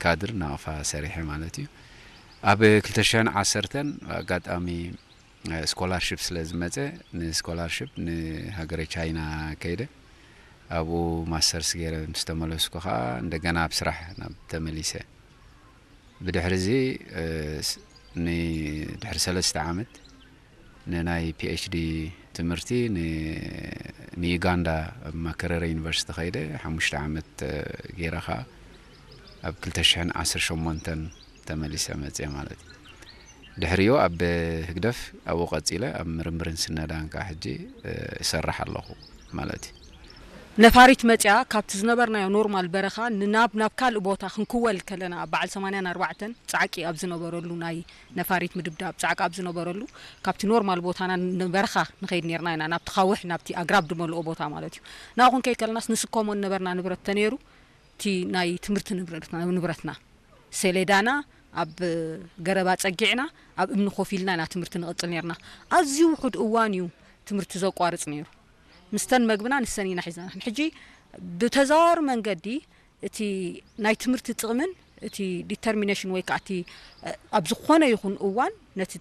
ካድር ናቕፋ ሰሪሐ ማለት እዩ። ኣብ ክልተ ሽሕን ዓሰርተን ኣጋጣሚ ስኮላርሽፕ ስለ ዝመፀ፣ ንስኮላርሽፕ ንሃገረ ቻይና ከይደ። ኣብኡ ማስተርስ ገይረ ምስ ተመለስኩ ከዓ እንደገና ኣብ ስራሕ ናብ ተመሊሰ። ብድሕሪ እዚ ድሕሪ ሰለስተ ዓመት ንናይ ፒኤችዲ ትምህርቲ ንዩጋንዳ ኣብ ማከረረ ዩኒቨርሲቲ ከይደ ሓሙሽተ ዓመት ገይረ ከዓ ኣብ ክልተ ሽሕን ዓሰርተ ሸሞንተን ተመሊሰ መፅየ ማለት እዩ። ድሕሪኡ ኣብ ህግደፍ ኣብኡ ቀፂለ ኣብ ምርምርን ስነዳን ከዓ ሕጂ እሰርሕ ኣለኹ ማለት እዩ። ነፋሪት መፅያ ካብቲ ዝነበርናዮ ኖርማል በረኻ ንናብ ናብ ካልእ ቦታ ክንክወል ከለና ኣብ በዓል ሰማንያን ኣርባዕተን ፃዕቂ ኣብ ዝነበረሉ ናይ ነፋሪት ምድብዳብ ፃዕቂ ኣብ ዝነበረሉ ካብቲ ኖርማል ቦታና ንበረኻ ንኸይድ ነርና ኢና ናብቲ ካውሕ ናብቲ ኣግራብ ድመልኦ ቦታ ማለት እዩ። ናብኡ ክንከይድ ከለናስ ንስከሞ ነበርና ንብረት ተነይሩ እቲ ናይ ትምህርቲ ንብረትና ሰሌዳና ኣብ ገረባ ጸጊዕና ኣብ እምኒ ኮፍ ኢልና ኢና ትምህርቲ ንቕጽል ነርና። ኣዝዩ ውሑድ እዋን እዩ ትምህርቲ ዘቋርጽ ነይሩ። ምስተን መግብና ንሰን ኢና ሒዝና። ሕጂ ብተዘዋዋሪ መንገዲ እቲ ናይ ትምህርቲ ጥቕምን እቲ ዲተርሚኔሽን ወይ ከዓ እቲ ኣብ ዝኾነ ይኹን እዋን ነቲ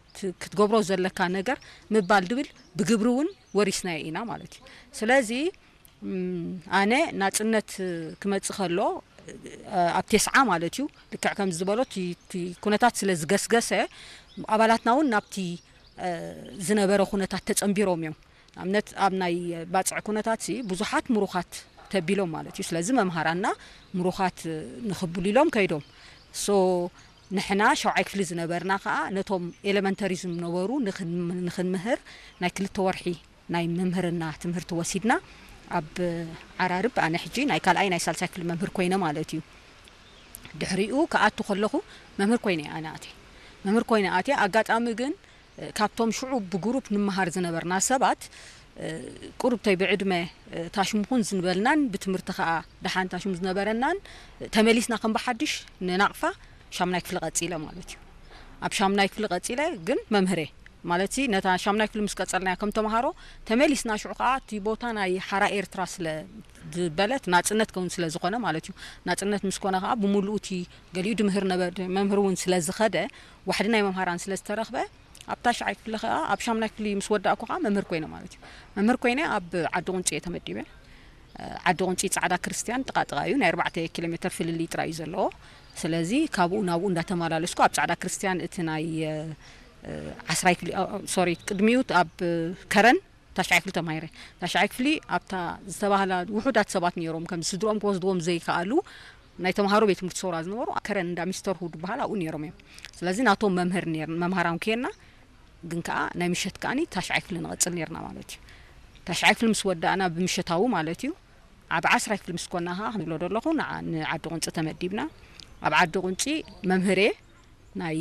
ክትገብሮ ዘለካ ነገር ምባል ድብል ብግብሪ እውን ወሪስናዮ ኢና ማለት እዩ። ስለዚ ኣነ ናፅነት ክመፅእ ከሎ ኣብ ቴስዓ ማለት እዩ ልክዕ ከም ዝበሎ እቲ ኩነታት ስለ ዝገስገሰ ኣባላትና እውን ናብቲ ዝነበረ ኩነታት ተፀንቢሮም እዮም። ንኣብነት ኣብ ናይ ባፅዕ ኩነታት ብዙሓት ምሩኻት ተቢሎም ማለት እዩ። ስለዚ መምሃራና ምሩኻት ንኽብሉ ኢሎም ከይዶም ሶ ንሕና ሸውዓይ ክፍሊ ዝነበርና ከዓ ነቶም ኤለመንተሪ ዝነበሩ ንኽንምህር ናይ ክልተ ወርሒ ናይ ምምህርና ትምህርቲ ወሲድና ኣብ ዓራርብ ኣነ ሕጂ ናይ ካልኣይ ናይ ሳልሳይ ክፍሊ መምህር ኮይነ ማለት እዩ። ድሕሪኡ ክኣቱ ከለኹ መምህር ኮይነ ኣነ ኣትየ መምህር ኮይነ ኣትየ ኣጋጣሚ ግን ካብቶም ሽዑ ብጉሩፕ ንመሃር ዝነበርና ሰባት ቁሩብተይ ብዕድመ ታሽምኹን ዝንበልናን ብትምህርቲ ከዓ ደሓን ታሽም ዝነበረናን ተመሊስና ከም ብሓድሽ ንናቕፋ ሻምናይ ክፍሊ ቀፂለ ማለት እዩ። ኣብ ሻምናይ ክፍሊ ቀፂለ ግን መምህሬ ማለት ነታ ሻምናይ ክፍሊ ምስ ቀፀልናያ ከም ተምሃሮ ተመሊስና ሽዑ ከዓ እቲ ቦታ ናይ ሓራ ኤርትራ ስለ ዝበለት ናፅነት ከውን ስለ ዝኾነ ማለት እዩ። ናፅነት ምስ ኮነ ከዓ ብምሉኡ እቲ ገሊኡ ድምህር ነበ መምህር እውን ስለ ዝኸደ ዋሕዲ ናይ መምሃራን ስለ ዝተረኽበ ኣብ ታሽዓይ ክፍሊ ከዓ ኣብ ሻምናይ ክፍሊ ምስ ወዳእኩ ከዓ መምህር ኮይነ ማለት እዩ። መምህር ኮይነ ኣብ ዓዲ ቁንፂ እየ ተመዲበ። ዓዲ ቁንፂ ፃዕዳ ክርስቲያን ጥቓ ጥቓ እዩ። ናይ ኣርባዕተ ኪሎ ሜትር ፍልልይ ጥራይ እዩ ዘለዎ። ስለዚ ካብኡ ናብኡ እንዳተመላለስኩ ኣብ ፃዕዳ ክርስቲያን እቲ ናይ ዓስራይ ክፍሊ ሶሪ ቅድሚኡ ኣብ ከረን ታሽዓይ ክፍሊ ተማሂረ። ታሽዓይ ክፍሊ ኣብታ ዝተባህላ ውሑዳት ሰባት ነይሮም ከም ስድሮም ክወስድዎም ዘይከኣሉ ናይ ተምሃሮ ቤት ትምህርቲ ሰውራ ዝነበሩ ከረን እንዳ ሚስተር ሁድ በሃል ኣብኡ ነይሮም እዮም። ስለዚ ናቶም መምህር ነር መምሃራን ከና ግን ከዓ ናይ ምሸት ከዓኒ ታሽዓይ ክፍሊ ንቐፅል ነርና ማለት እዩ። ታሽዓይ ክፍሊ ምስ ወዳእና ብምሸታዊ ማለት እዩ ኣብ ዓስራይ ክፍሊ ምስ ኮና ከዓ ክንብሎ ዘለኹ ንዓ- ንዓዲ ቁንፂ ተመዲብና። ኣብ ዓዲ ቁንፂ መምህሬ ናይ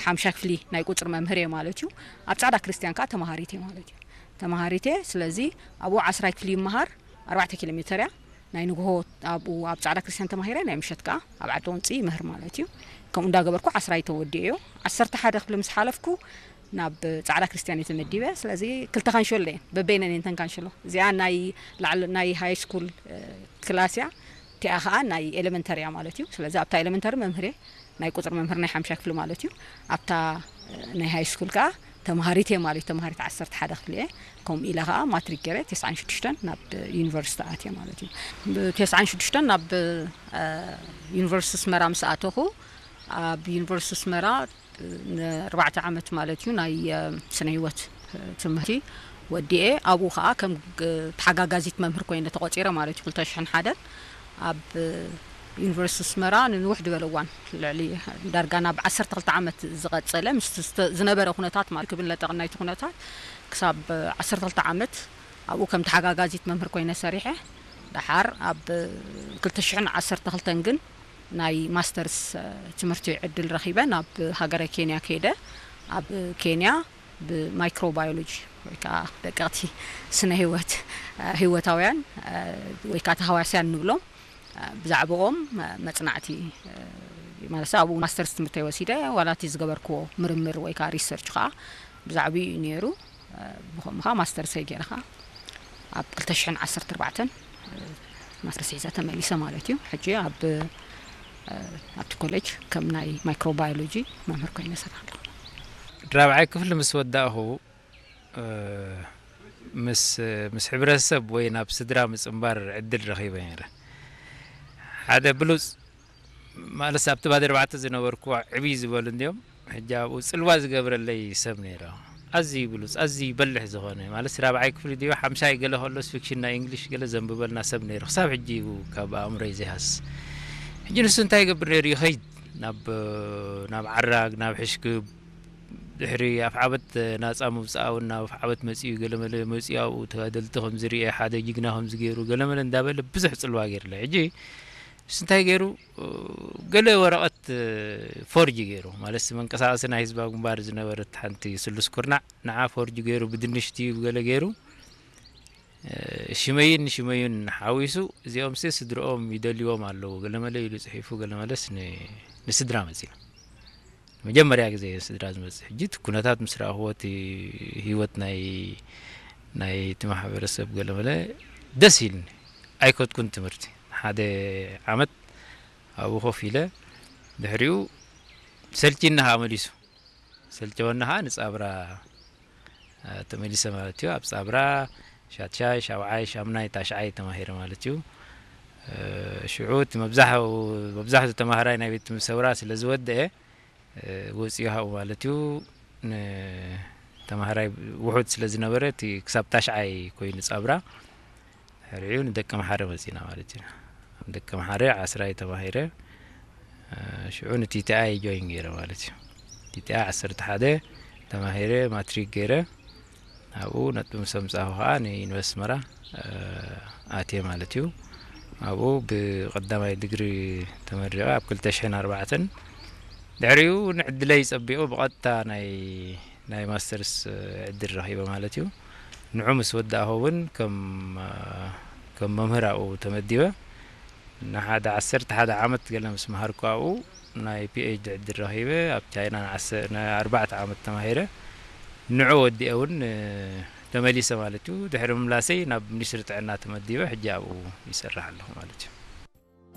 ሓምሻ ክፍሊ ናይ ቁፅሪ መምህር እየ ማለት እዩ። ኣብ ፃዕዳ ክርስቲያን ከዓ ተማሃሪት እየ ማለት እዩ። ተማሃሪት እየ። ስለዚ ኣብኡ ዓስራይ ክፍሊ ይመሃር ኣርባዕተ ኪሎ ሜተር እያ ናይ ንግሆ ኣብኡ ኣብ ፃዕዳ ክርስቲያን ተማሂረ ናይ ምሸት ከዓ ኣብ ዓዲ ቁንፂ ይምህር ማለት እዩ። ከምኡ እንዳገበርኩ ዓስራይ ተወዲኦ እዮ። ዓሰርተ ሓደ ክፍሊ ምስ ሓለፍኩ ናብ ፃዕዳ ክርስቲያን እየ ተመዲበ። ስለዚ ክልተ ካንሸሎ እየን በበይነን እየን ተን ካንሸሎ። እዚኣ ናይ ላዕሊ ናይ ሃይ ስኩል ክላስ እያ። እቲኣ ከዓ ናይ ኤሌመንተሪ እያ ማለት እዩ። ስለዚ ኣብታ ኤሌመንተሪ መምህር እየ ናይ ቁፅሪ መምህር ናይ ሓምሻ ክፍሊ ማለት እዩ። ኣብታ ናይ ሃይ ስኩል ከዓ ተምሃሪት እየ ማለት እዩ። ተምሃሪት ዓሰርተ ሓደ ክፍሊ እየ። ከምኡ ኢለ ከዓ ማትሪክ ገይረ ተስዓን ሽዱሽተን ናብ ዩኒቨርሲቲ ኣትየ ማለት እዩ። ተስዓን ሽዱሽተን ናብ ዩኒቨርሲቲ ኣስመራ ምስ ኣተኹ ኣብ ዩኒቨርሲቲ ኣስመራ ንኣርባዕተ ዓመት ማለት እዩ ናይ ስነ ህይወት ትምህርቲ ወዲኤ ኣብኡ ከዓ ከም ተሓጋጋዚት መምህር ኮይነ ተቆፂረ ማለት እዩ። ክልተ ሽሕን ሓደን ኣብ ዩኒቨርሲቲ ኣስመራ ንንውሕ ዝበለ እዋን ልዕሊ ዳርጋ ናብ ዓሰርተ ክልተ ዓመት ዝቐፀለ ምስ ዝነበረ ኩነታት ማለት ክብል ለጠቕናይቲ ኩነታት ክሳብ ዓሰርተ ክልተ ዓመት ኣብኡ ከም ተሓጋጋዚት መምህር ኮይነ ሰሪሐ ደሓር ኣብ ክልተ ሽሕን ዓሰርተ ክልተን ግን ናይ ማስተርስ ትምህርቲ ዕድል ረኺበ ናብ ሃገረ ኬንያ ከይደ ኣብ ኬንያ ብማይክሮባዮሎጂ ወይ ከዓ ደቀቕቲ ስነ ህይወት ህይወታውያን ወይ ከዓ ተሃዋስያን ንብሎም ብዛዕባኦም መፅናዕቲ ማለት ኣብኡ ማስተርስ ትምህርተይ ወሲደ ዋላ እቲ ዝገበርክዎ ምርምር ወይ ከዓ ሪሰርች ከዓ ብዛዕባኡ እዩ ነይሩ። ብኸምኡ ከዓ ማስተርሰይ ገይረ ከዓ ኣብ ክልተ ሽሕን ዓሰርተ ኣርባዕተን ማስተርስ ሒዘ ተመሊሰ ማለት እዩ። ሕጂ ኣብ ኣብቲ ኮሌጅ ከም ናይ ማይክሮባዮሎጂ መምህር ኮይነ እሰርሕ ኣለኹ። ራብዓይ ክፍሊ ምስ ወዳእኹ፣ እ፣ ምስ፣ ምስ ሕብረተሰብ ወይ ናብ ስድራ ምጽንባር ዕድል ረኺበ ነይረ። ሓደ ብሉጽ፣ ማለት ኣብቲ ባድ ኣርባዕተ ዝነበርኩ ዕብይ ዝበሉ እንዲዮም። ሕጂ ኣብኡ ጽልዋ ዝገብረለይ ሰብ ነይረ። ኣዝዩ ብሉጽ፣ ኣዝዩ በልሕ ዝኾነ፣ ማለት ራብዓይ ክፍሊ ድዩ ሓምሻይ ገለ ከሎስ ፊክሽን ናይ እንግሊሽ ገለ ዘንብበልና ሰብ ነይሩ። ክሳብ ሕጂ እዩ ካብ ኣእምሮይ ዘይሃስ። ሕጂ ንሱ እንታይ ይገብር ነይሩ? ይኸይድ ናብ፣ ናብ ዓራግ፣ ናብ ሕሽክብ፣ ድሕሪ ኣፍዓበት ናጻ ምውጻእ እውን ናብ ኣፍዓበት መጺኡ፣ ገለ መለ መጺኡ ኣብኡ ተጋደልቲ ከም ዝርኤ፣ ሓደ ጅግና ከም ዝገይሩ፣ ገለ መለ እንዳበለ ብዙሕ ጽልዋ ገይርለ። ሕጂ ንሱ እንታይ ገይሩ? ገለ ወረቐት ፎርጅ ገይሩ፣ ማለት መንቀሳቐሲ ናይ ህዝባዊ ግንባር ዝነበረት ሓንቲ ስሉስ ኩርናዕ፣ ንዓ ፎርጅ ገይሩ፣ ብድንሽ ድዩ ገለ ገይሩ፣ እ፣ ሽመይን ሽመዩን ሓዊሱ፣ እዚኦም ሲ ስድርኦም ይደልይዎም ኣለዉ፣ ገለ መለ ኢሉ ጽሒፉ፣ ገለ መለስ ን-፣ ንስድራ መጺና። መጀመርያ ግዜ ስድራ ዝመጽእ። ሕጂ እቲ ኩነታት ምስ ረኣኽዎ፣ እቲ ህይወት ናይ፣ ናይ እቲ ማሕበረሰብ ገለ መለ ደስ ኢልኒ። ኣይከድኩን ትምህርቲ። ሓደ ዓመት ኣብኡ ኮፍ ኢለ፣ ድሕሪኡ ሰልችኒ ኸኣ መሊሱ። ሰልቸወኒ ኸኣ ንጻብራ፣ እ፣ ተመሊሰ ማለት እዩ። ኣብ ጻብራ ሻትሻይ፣ ሻውዓይ፣ ሻምናይ፣ ታሽዓይ ተማሂረ ማለት እዩ። እ፣ ሽዑ እቲ መብዛሕ-፣ መብዛሕትኡ ተማሃራይ ናይ ቤት ትምህርቲ ሰውራ ስለ ዝወደአ፣ እ፣ ወጺኡ ሃኡ ማለት እዩ። ንተማሃራይ ውሑድ ስለ ዝነበረ፣ እቲ ክሳብ ታሽዓይ ኮይኑ ጻብራ፣ ድሕሪኡ ንደቀምሓረ መጺና ማለት እዩ። ኣብ ደቀምሓረ ዓስራይ ተማሂረ፣ እ፣ ሽዑ ንቲቲኣይ ጆይን ገይረ ማለት እዩ። ቲቲኣይ ዓሰርተ ሓደ ተማሂረ፣ ማትሪክ ገይረ፣ ኣብኡ ነጥቢ ምስ ኣምጻእኩ ከኣ ንዩኒቨርሲቲ ኣስመራ፣ እ፣ ኣትየ ማለት እዩ። ኣብኡ ብቐዳማይ ዲግሪ ተመሪቐ ኣብ ክልተ ሽሕን ኣርባዕተን። ድሕሪኡ ንዕድለይ ጸቢቑ ብቐጥታ ናይ፣ ናይ ማስተርስ ዕድል ረኺበ ማለት እዩ። ንዑ ምስ ወዳእኹ እውን ከም፣ እ፣ ከም መምህር ኣብኡ ተመዲበ። ንሓደ ዓሰርተ ሓደ ዓመት ገለ ምስ መሃርኩ ኣብኡ ናይ ፒ ኤች ዲ ዕድል ረኺበ። ኣብ ቻይና ንዓሰ-፣ ንኣርባዕተ ዓመት ተማሂረ። ንዑ ወዲኤ እውን፣ እ፣ ተመሊሰ ማለት እዩ። ድሕሪ ምምላሰይ ናብ ሚኒስትሪ ጥዕና ተመዲበ፣ ሕጂ ኣብኡ ይሰርሕ ኣለኹ ማለት እዩ።